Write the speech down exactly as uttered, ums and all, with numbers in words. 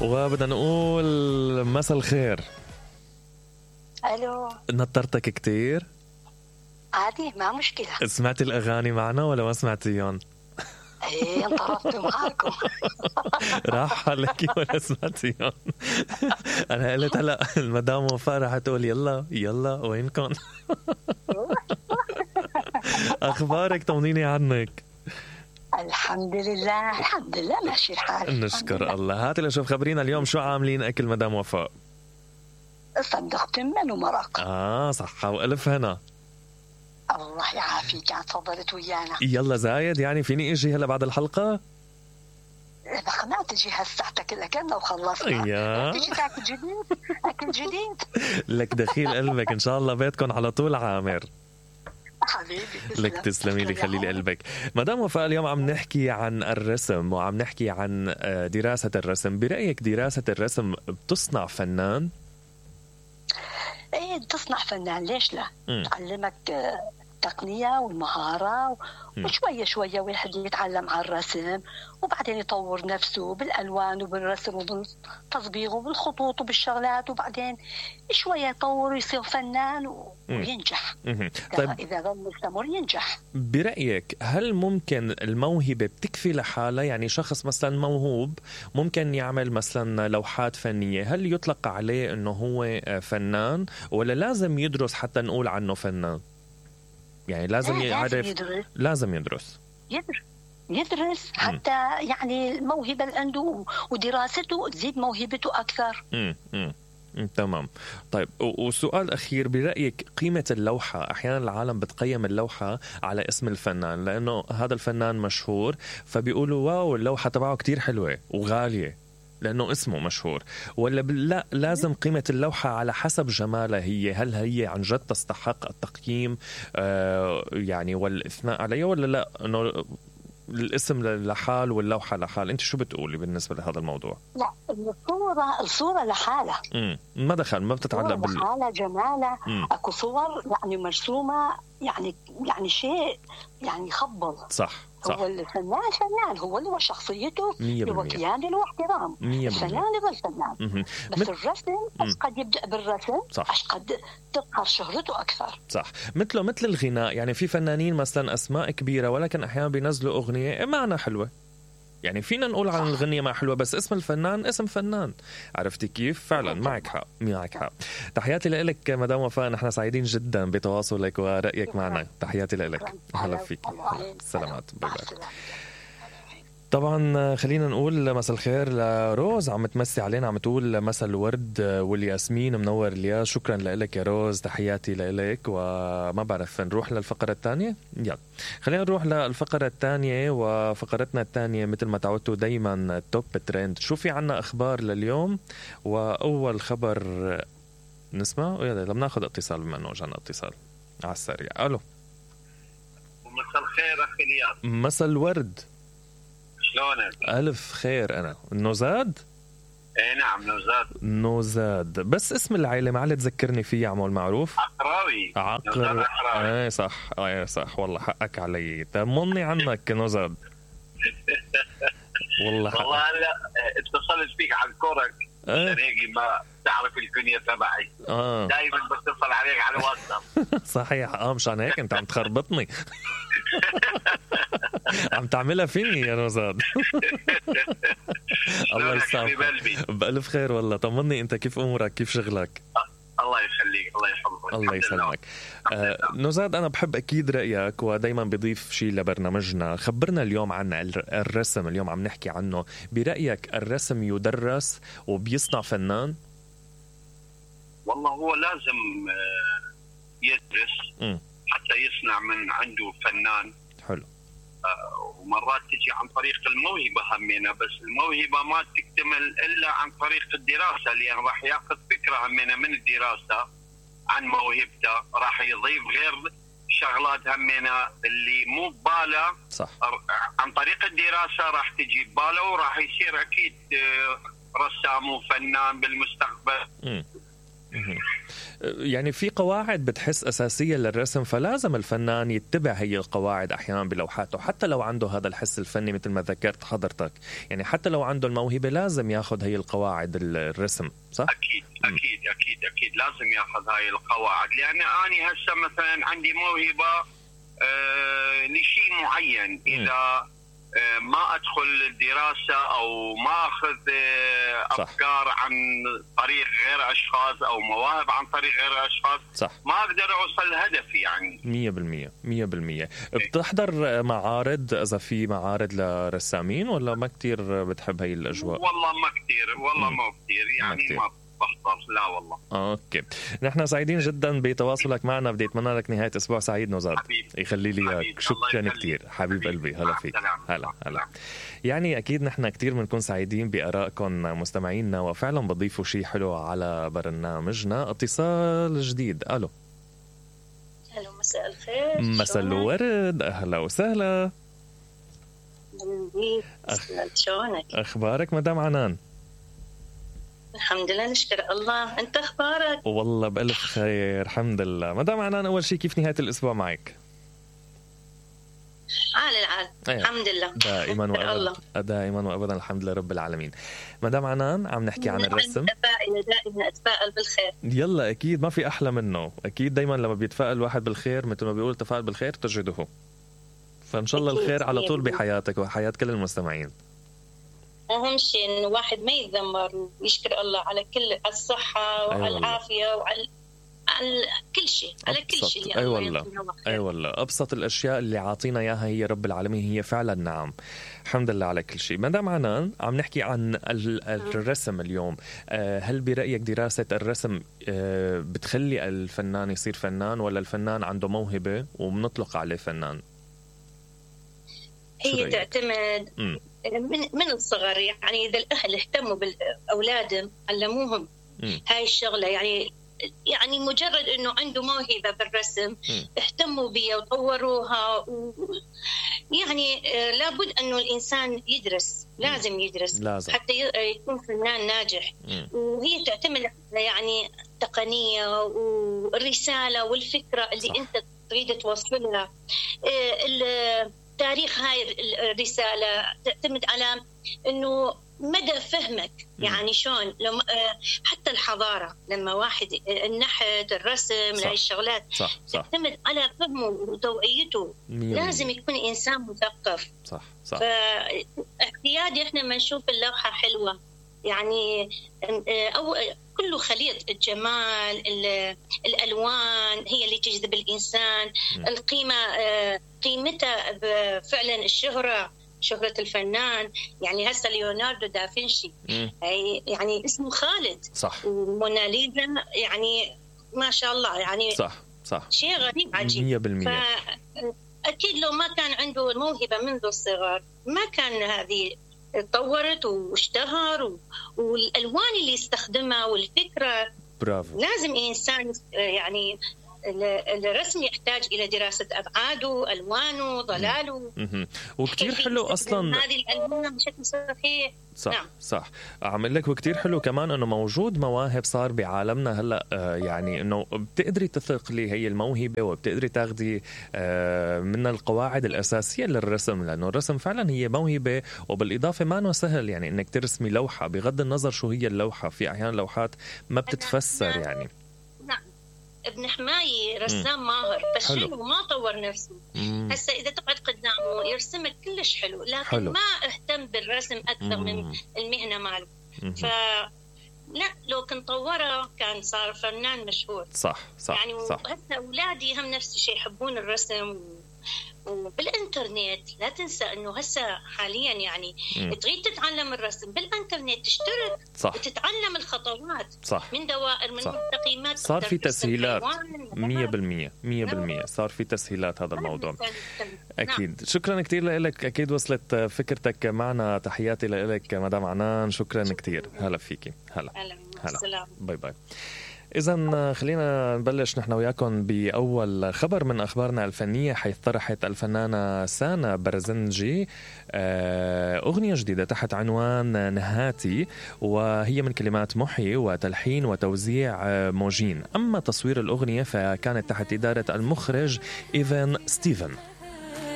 وبدنا نقول مساء الخير. الو، نطرتك كتير؟ عادي ما مشكلة. سمعتي الأغاني معنا ولا ما سمعتيهم؟ ايه انطرفت معاكم. راح عليكي ولا سمعتيهم؟ أنا قلت هلا المدام وفاء راح تقول يلا يلا وينكم؟ أخبارك؟ طمنيني عنك. الحمد لله الحمد لله ماشي الحال. نشكر الله. هاتي لشوف خبرينا اليوم شو عاملين أكل مدام وفاء؟ صدق تمن ومرق. آه صحة وألف هنا. الله يعافيك، عاد تفضلت ويانا. يلا زايد يعني فيني اجي هلا بعد الحلقة؟ ما تجي هالساعتك إلا كنا وخلصنا. يا تجي تاكل جديد أكل جديد. لك دخيل قلبك إن شاء الله بيتكم على طول عامر. حبيبي لك تسلمي لي خلي لي قلبك. مدام وفاء اليوم عم نحكي عن الرسم وعم نحكي عن دراسة الرسم. برأيك دراسة الرسم بتصنع فنان؟ ايه تصنع فنان، ليش لا؟ م. تعلمك التقنية والمهارة وشوية شوية واحد يتعلم على الرسم وبعدين يطور نفسه بالألوان وبالرسم وبالتصبيغ وبالخطوط وبالشغلات وبعدين شوية يطور ويصير فنان وينجح. طيب إذا ظل مستمر ينجح. برأيك هل ممكن الموهبة بتكفي لحالها؟ يعني شخص مثلا موهوب ممكن يعمل مثلا لوحات فنية، هل يطلق عليه انه هو فنان ولا لازم يدرس حتى نقول عنه فنان؟ يعني لازم يعرف. لازم يدرس. لازم يدرس يدرس يدرس حتى م. يعني الموهبة اللي عنده ودراسته تزيد موهبته أكثر. امم امم تمام. طيب وسؤال أخير، برأيك قيمة اللوحة؟ أحيانا العالم بتقيم اللوحة على اسم الفنان لأنه هذا الفنان مشهور فبيقولوا واو اللوحة تبعه كتير حلوة وغالية لأنه اسمه مشهور، ولا لا لازم قيمة اللوحة على حسب جمالها هي؟ هل هي عن جد تستحق التقييم آه يعني والإثناء عليها ولا لا إنه الاسم لحال واللوحة لحال؟ أنت شو بتقولي بالنسبة لهذا الموضوع؟ لا الصورة الصورة لحالها. امم ما دخل ما بتتعلق بال لحالها جمالها. أكو صور يعني مرسومة يعني يعني شيء يعني يخبل. صح صح. هو الفنان فنان، هو اللي هو شخصيته هو كيان له احترام. الفنان هو الفنان. بس مت... الرسم قد يبدأ بالرسم قد تظهر شهرته أكثر. صح. مثله مثل الغناء، يعني في فنانين مثلا أسماء كبيرة ولكن أحيانا بينزلوا أغنية معنى حلوة، يعني فينا نقول عن الغنية ما حلوة بس اسم الفنان اسم فنان. عرفتي كيف؟ فعلا معك حق معك حق. تحياتي لك مدام وفاء، نحن سعيدين جدا بتواصلك ورأيك معنا. تحياتي لك. هلا فيك. سلامات. باي باي. طبعا خلينا نقول مساء الخير لروز عم تمسي علينا، عم تقول مساء الورد والياسمين منور الياس. شكرا لك يا روز، تحياتي لك. وما بعرف نروح للفقرة الثانية. يلا خلينا نروح للفقرة الثانية، وفقرتنا الثانية مثل ما تعودتوا دايما توب ترند. شو في عنا أخبار لليوم؟ وأول خبر نسمع لما ناخذ اتصال بما أنه جانا اتصال على السريع. ألو مساء الخير أخي الياس. مساء الورد، شلونك؟ ألف خير. أنا نوزاد. ايه نعم نوزاد. نوزاد بس اسم العائلة ما علي تذكرني فيه عمول معروف. عقراوي. عقر ايه صح ايه صح والله حقك علي. طمني عنك نوزاد. والله حقك. والله هلا اتصلت فيك عن كورك ايه؟ عشان هيك ما تعرف الكنية تبعي. اه دايما بتصل عليك على الواتساب. صحيح. اه مشان هيك انت عم تخربطني. عم تعملها فيني يا نوزاد. الله يسامحك. بألف خير والله. طمني انت كيف امورك كيف شغلك؟ الله يخليك الله يحفظك. الله يسلمك. آه نوزاد انا بحب اكيد رايك ودايما بضيف شيء لبرنامجنا. خبرنا اليوم عن الرسم، اليوم عم نحكي عنه. برايك الرسم يدرس وبيصنع فنان؟ والله هو لازم يدرس م. حتى يصنع من عنده فنان حلو. ومرات تجي عن طريق الموهبة همينة، بس الموهبة ما تكتمل إلا عن طريق الدراسة، لأن راح يأخذ فكرة همينة من الدراسة عن موهبته، راح يضيف غير شغلات همينة اللي مو بباله. صح. عن طريق الدراسة راح تجي بباله وراح يصير أكيد رسام وفنان بالمستقبل. م. يعني في قواعد بتحس أساسية للرسم، فلازم الفنان يتبع هي القواعد أحيانا بلوحاته، حتى لو عنده هذا الحس الفني مثل ما ذكرت حضرتك. يعني حتى لو عنده الموهبة لازم ياخذ هي القواعد الرسم، صح؟ أكيد أكيد أكيد أكيد لازم ياخذ هاي القواعد، لأن أنا هسه مثلا عندي موهبة آه لشيء معين، إذا ما أدخل دراسة أو ما أخذ أفكار عن طريق غير أشخاص أو مواهب عن طريق غير أشخاص، صح. ما أقدر أوصل لهدفي. يعني مية بالمية مية بالمية. بتحضر معارض إذا في معارض لرسامين ولا ما كتير بتحب هاي الأجواء؟ والله ما كتير، والله ما كتير يعني ما, ما بحضر، لا والله. اوكي، نحن سعيدين جدا بتواصلك معنا، بدي اتمنى لك نهايه اسبوع سعيد نوزاد. يخلي لي اياك، شكرا كثير حبيب قلبي. هلا فيك. هلا هلا. يعني اكيد نحن كثير بنكون سعيدين بارائكم مستمعينا، وفعلا بضيفوا شيء حلو على برنامجنا. اتصال جديد. الو. الو، مساء الخير. مساء الورد، اهلا وسهلا. شلونك؟ اخبارك مدام عنان؟ الحمد لله نشكر الله، انت اخبارك؟ والله بألف خير الحمد لله. مدام عنان، اول شيء كيف نهايه الاسبوع معك؟ عال العال. أيه. الحمد لله دائما وابدا. دائما وابدا الحمد لله رب العالمين. مدام عنان، عم نحكي عن الرسم. دائما دائما اتفائل بالخير. يلا اكيد ما في احلى منه، اكيد دائما لما بيتفائل الواحد بالخير مثل ما بيقول تفائل بالخير تجده. فان شاء الله الخير على طول بحياتك وحياه كل المستمعين. أهم شيء إنه واحد ما يتذمر ويشكر الله على كل الصحة وعلى أيوة العافية وعلى على كل شيء، على كل شيء. أي والله أي والله أبسط الأشياء اللي عاطينا إياها هي رب العالمين، هي فعلا نعم. الحمد لله على كل شيء. مدام عنان، عم نحكي عن الرسم اليوم. هل برأيك دراسة الرسم بتخلي الفنان يصير فنان، ولا الفنان عنده موهبة وبنطلق عليه فنان؟ هي تعتمد م. من من الصغر. يعني إذا الأهل اهتموا بالأولادهم علموهم م. هاي الشغلة، يعني يعني مجرد إنه عنده موهبة بالرسم م. اهتموا بيها وطوروها و... يعني لابد إنه الإنسان يدرس، لازم يدرس لازم. حتى يكون فنان ناجح م. وهي تعتمد يعني التقنية والرسالة والفكرة اللي صح. أنت تريد توصلها. تاريخ هاي الرسالة تعتمد على إنه مدى فهمك. يعني شلون لما حتى الحضارة، لما واحد النحت الرسم هاي الشغلات صح. صح. تعتمد على فهمه وتوعيته. لازم يكون إنسان مثقف. صح صح. فاعتيادي إحنا ما نشوف اللوحة حلوة يعني أو كله خليط الجمال، الألوان هي اللي تجذب الإنسان. م. القيمة قيمتها فعلا الشهرة، شهرة الفنان. يعني هسه ليوناردو دافنشي يعني اسمه خالد صح. وموناليزا يعني ما شاء الله يعني صح صح. شيء غريب عجيب. مية بالمية. فأكيد لو ما كان عنده الموهبة منذ الصغر ما كان هذه تطورت واشتهر، والألوان اللي يستخدمها والفكرة. برافو. لازم إنسان يعني الرسم يحتاج إلى دراسة أبعاده، ألوانه، ظلاله. وكتير حلو أصلاً هذه الألوان بشكل صحيح. صح نعم. صح. أعمل لك وكتير حلو كمان أنه موجود مواهب صار بعالمنا هلأ. آه يعني أنه بتقدري تثقلي هي الموهبة وبتقدري تاخدي آه من القواعد الأساسية للرسم، لأنه الرسم فعلا هي موهبة. وبالإضافة ما أنه سهل يعني أنك ترسمي لوحة بغض النظر شو هي اللوحة. في أحيان لوحات ما بتتفسر يعني. ابن حماية رسام ماهر بس حلو. حلو ما طور نفسه. هسه إذا تقعد قدامه يرسمك كلش حلو، لكن حلو. ما اهتم بالرسم أكثر مم. من المهنة ماله. فلا لو كنت طوره كان صار فنان مشهور. صح صح. يعني هسه أولادي هم نفس الشيء يحبون الرسم. وبالإنترنت لا تنسى إنه هسه حاليا يعني م. تريد تتعلم الرسم بالإنترنت تشترك صح. وتتعلم الخطوات صح. من دوائر من تقييمات. صار في تسهيلات مية بالمية مية بالمية. صار في تسهيلات هذا الموضوع. أكيد. نعم. شكرا كتير لك. أكيد وصلت فكرتك معنا. تحياتي لك مدام عنان. شكرا كتير. هلا فيكي. هلا هلا. باي باي. إذن خلينا نبلش نحن وياكم بأول خبر من أخبارنا الفنية، حيث طرحت الفنانة سانا برزنجي أغنية جديدة تحت عنوان نهاتي، وهي من كلمات محي وتلحين وتوزيع موجين. أما تصوير الأغنية فكانت تحت إدارة المخرج إيفان ستيفن.